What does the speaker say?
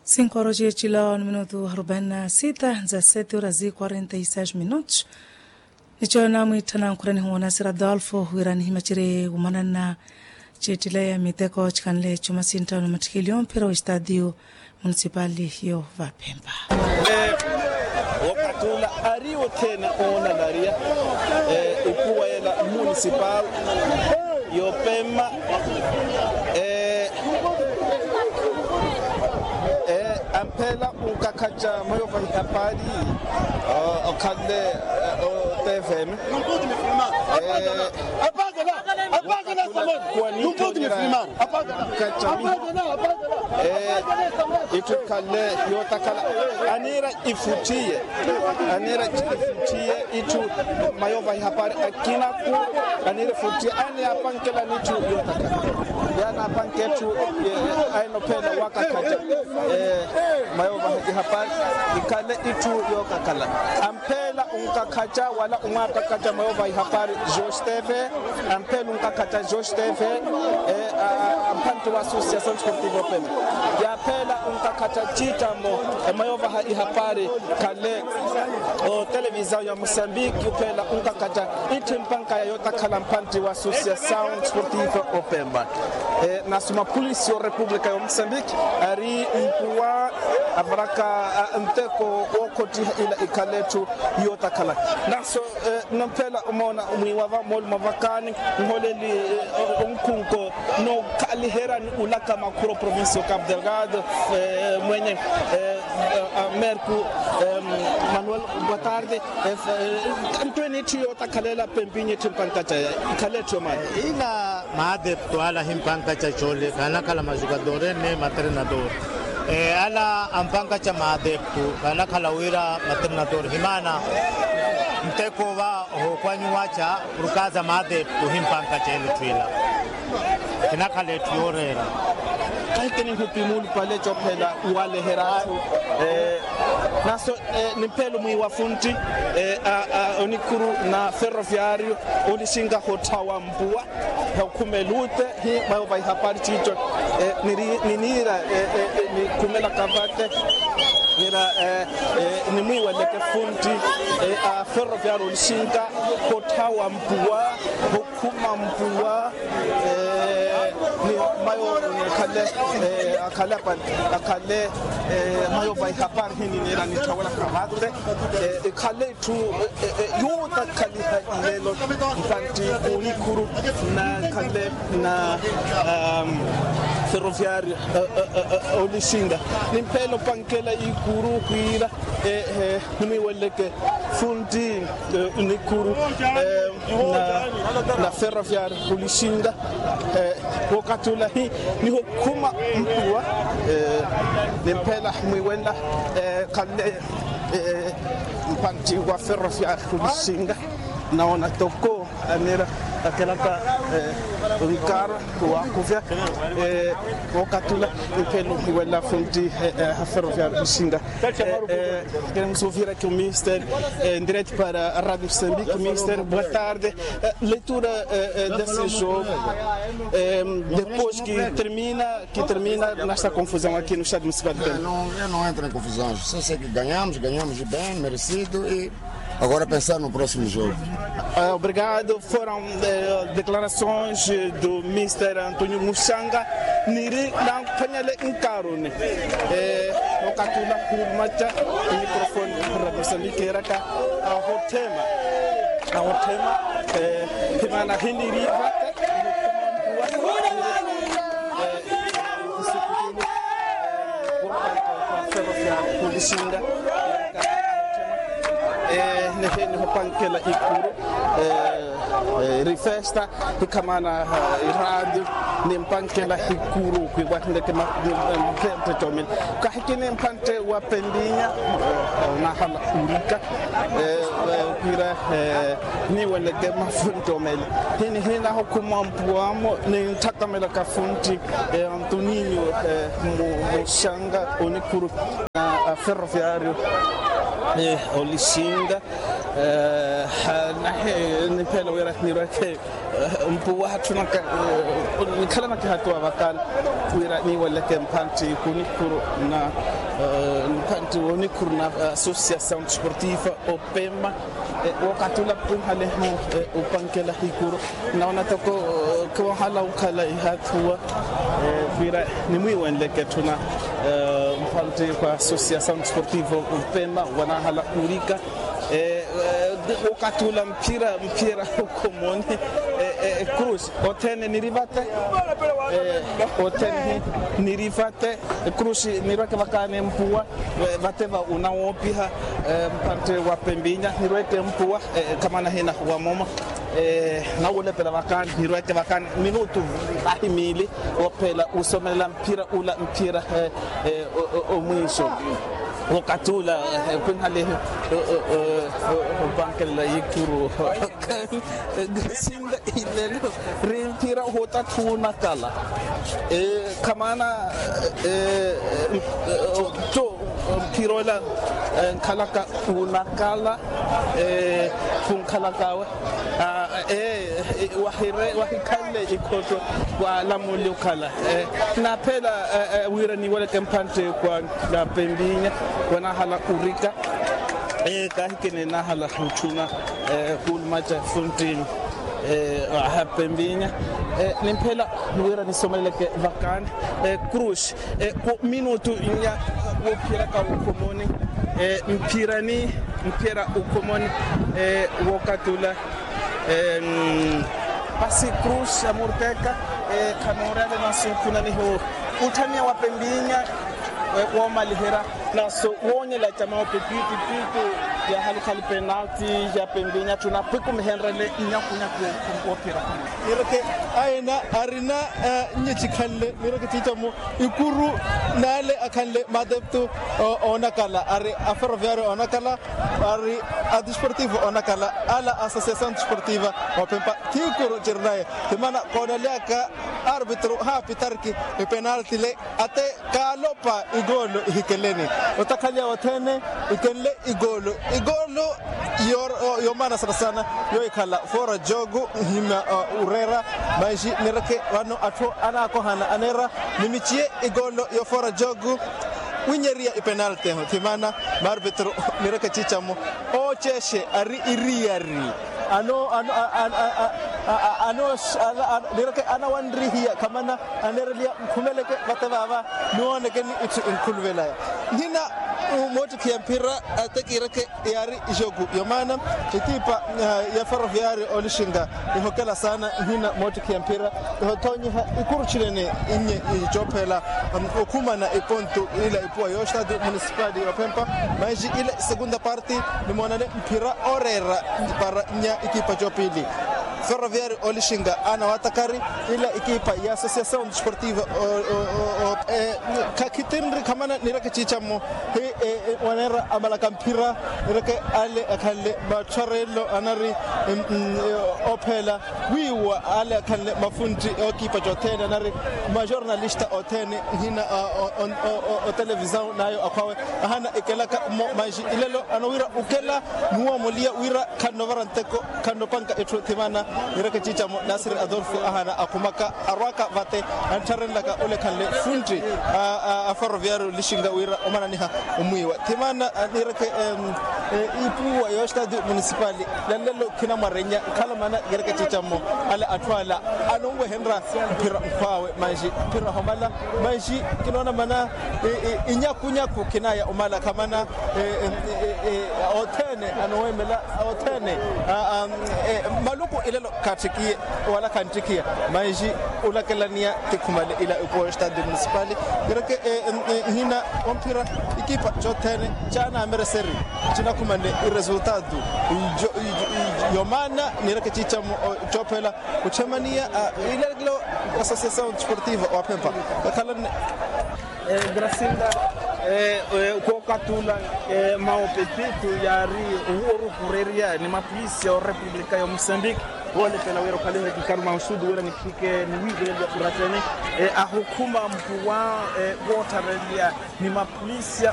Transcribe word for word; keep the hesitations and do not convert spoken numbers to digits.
Cinco horas cietcila minutu arubaina na sita za sete horas quarenta e seis minutos. Nico namwiittana nkhurani huwo nasira adolfo wira nihimacere wumanana. Ciettileya miteko cikhanle cuma sinttawo na mattikiliyo mphira wa estadio municipali yo vapempa. Wokatula ari othene oonanariya ikuwa ela municipal yopemma. Amphela unkakhaca mweyo vahihapaari okhanle otefeme. Itthu ikhanle yootakhala aniira ifutthiye. Aniira ifutthiye itthu mayo vahihapaari akinaku. Aniira ifutthiye aniyapankela n'itthu yootakhala. Yaanapanke etthu ainophela wakakhaca mayo vahihapaari ikhale itthu yookakhala. Amphela unkakhaca wala umwaapakaca mayo vahihapaari jostefe. Amphela unkakhaca jostefe amphantti wa associação desportivo pema. Yaaphela unkakhaca ciittamo mayo vaha ihapaari khale otelevisao ya mosambiki uphela unkakhaca itthu impankaya yootakhala mphantti wa associação desportivo opema. Nasuma polisi yo república ya mosambiki ari mpuwa avaraka nteko wookhottiha ila ikhale etthu yootakhala. Naso namphela omoona mwiiwa va mooli mwa vakaani nholeli onkhunko nookhaliherya ni ulaka makhuro provincia o capo delgado mwenye merco manuel boa tarde. Ntwene itthu yootakhalela pempinye itthu mpankaca ikhale etthu yomaani. Ila maadepto ala himpankaca coole khanakhala majukadore ni matrenadore. Ala ampankaca maadepto khanakhala wira matrenadore himaana nteko va ohookhwanyiwaca. Purkaza maadepto himpankaca ele etthu ila khinakhala etthu yooreera. Kahikini nhupi muulupale cophela waleherya atthu. Naso nimphelo mwiiwa funtti onikhuru na ferroviario olixinga hotthawa mpuwa. Hookhumela utte hi mayo vaihapari ciico niniira nikhumelaka vate nira nimwiiweleke funtti a ferroviario olixinga hotthawa mpuwa. Khuma mpuwa ni mayo nikhale akhale akhale mayo vaihapari hi niniira nitthawelaka vate ikhale itthu yootakhaliha ilelo. Mpantti kunikhuru nakhale na ferroviario olixinga nimphelo pankela ikuru khwiira nimwiiweleke funtti nikuru na ferroviario olixinga wookathi ula hi nihokhuma mpuwa nimphela mwiiwenla khale mpantti wa ferroviario olixinga naona toko anira akelaka nkara wakhuvya wookathi ula nimphelo mwiiwenla funtti ha ferroviario olixinga. Queremos ouvir aqui o Mister em direto para a Rádio Moçambique. Mister, boa tarde. Leitura desse jogo. Depois que termina, que termina nesta confusão aqui no Estádio Municipal de Pemba. Não, eu não entro em confusões. Só sei que ganhamos, ganhamos bem, merecido e agora pensar no próximo jogo. Obrigado. Foram declarações do Mister António Muxanga. Niri nanphwanyele nkaroni okathi ula khumaca microfone. Ramusamikeraka ahothema ahothema himana hiniri vate niheni hopankela ikuru eri festa hikhamana iradio nimpankela hikuru khwiiwa hineke mapempe comile kahikini mpantte wa pembinya nahala urika khwiira niiweleke mafuntti omele hini hinahokhuma mpuwamo nintthakamelaka funtti antoninio muxanga onikhuru na ferroviario olixinga nahe niphela wira nirweke mpuwa hatthunaka nikhalanaka ehatuwa vakala wira niiweleke mphantti kunikhuru na Nkantti wonikhuru na associação desportiva opema. Wokatula pwihaleho upankela hikuru. Naona toko kiwahala ukhala ihathuwa. Pira nimwiwenleke thuna. Nkantti kwa associação desportiva opema wanahala urika. Wokatula mphira mphira ukhomoni. Cruz othene nirivate. Othene nirivate. Cruz nirweke vakani mpuwa. Vate va unawoopiha. Mpantte wa pembinya nirweke mpuwa. Kamana hina wa moma nawulepela vakani nirweke vakani minutu vahi miili. Wophela usomelela mphira ula mphira omwiiso. Wokatula kwinhalihi opankelela yikuru. Sinda ilelo ri mphira ohuta thuunakala. Khamana to mphira ola nkhalaka unakala. Khunkhalakawe. Wahikhanle ikhotto. Walamuli okhala naphela wira niweleke mpantte kwa pembinya wanahala urika. Kahikene nahala otthuna. Khuulumaca funtti aha pembinya. Nimphela wira nisomeleleke vakani. Cruz. Minutu nya wophiyeraka ukhomoni. Mphirani mphiyera ukhomoni. Wokatula pasi cruz amurteka. Khanoorele naso khunaniho utthaniya wa pembinya. Woomaliherya naso woonyela camawo pipitipiti. Yahalukhali penalti ya pembinya tthuna pwikumihenrele nyakunyaku. Wophiyeraka nireke aina arina nyicikhanle nireke ciicamo ikuru. N'ale akhanle maadeptu oonakala ari aferroviario oonakala ari adesportivo oonakala ala associação desportiva. Ophempa thiikuru cirinaye thimana koonelyaka arbitru haapitarki. Ipenalti le ate kaalopa igoolo ihikeleni otakhaliya othene ikenle igoolo igoolo yomaana sana sana. Yohikhala fora jogu nhima ureera manji nireke vano atthu anaakohana aneera nimiciye igoolo yo fora jogu. Winyeriya ipenalti eho thimana maarbitru nireke ciicamo oocexe ari iriyari. Ano ano ano ano nireke anawanrihiya khamana aneereliya nkhumeleke vate vaava. Niwoonekeni itthu inkhuluvelaya nhina moottikhiya mphira ate kiireke yaari ijoku yomaana ekipa ya ferroviario olixinga ihokela saana nhina moottikhiya mphira. Ihothoonyiha ikuru txinene innye icoophela okhumana ipontu ila ipuwa yo estado municipal yophempa manji ila isekunda parte nimoonane mphira ooreera para nya ikipa coopili. Ferroviario olixinga ana watakari ila ikipa ya associação desportiva khakhitinri khamana nireke ciicamo hi waneera amalaka mphira nireke ale akhanle matthwarelo anari ophela wiiwa ale akhanle mafuntti ookipa cothene anari majornalista othene nhina otelevisão nayo akhwawe ahana ikelaka mmo manji ilelo anowira ukela nuwoomuliya wira khannovara nteko khannopanka etthu thimana. Nireke ciicamo nasiri adolfo ahana akhumaka arwaka vate anttharenlaka ole khanle funtti a ferroviario lixinga wira omananiha omwiiwa thimana nireke ipuwa yo estado municipal. Nanlelo khinamwarenya nkhala mana nireke ciicamo ale atthu ala anonwehenrya mphira nkhwaawe manji mphira homala manji kinoona mana inyakunyaku khinaya omala khamana othene anoweemela othene maluku ilelo khaattikiye wala khantthikiya manji olakelaniya ti khumale ila ipuwa yo estado municipal. Nireke nhina omphira ikipa cothene caanaamereseri cinakhumane iresultado yomaana nireke ciicamo coophela kutthemaniya ilelo associação desportiva waphempa kakhalanne gracinda kookatula maopepito yaari ohuwa oruhurerya ni mapolisi ya orepublika ya omusambiki. Woolepela wira okhalihe kikaru mausudu wira niphike niwiivelelya uratene ahukhuma mpuwa woottharelya ni mapolisi ya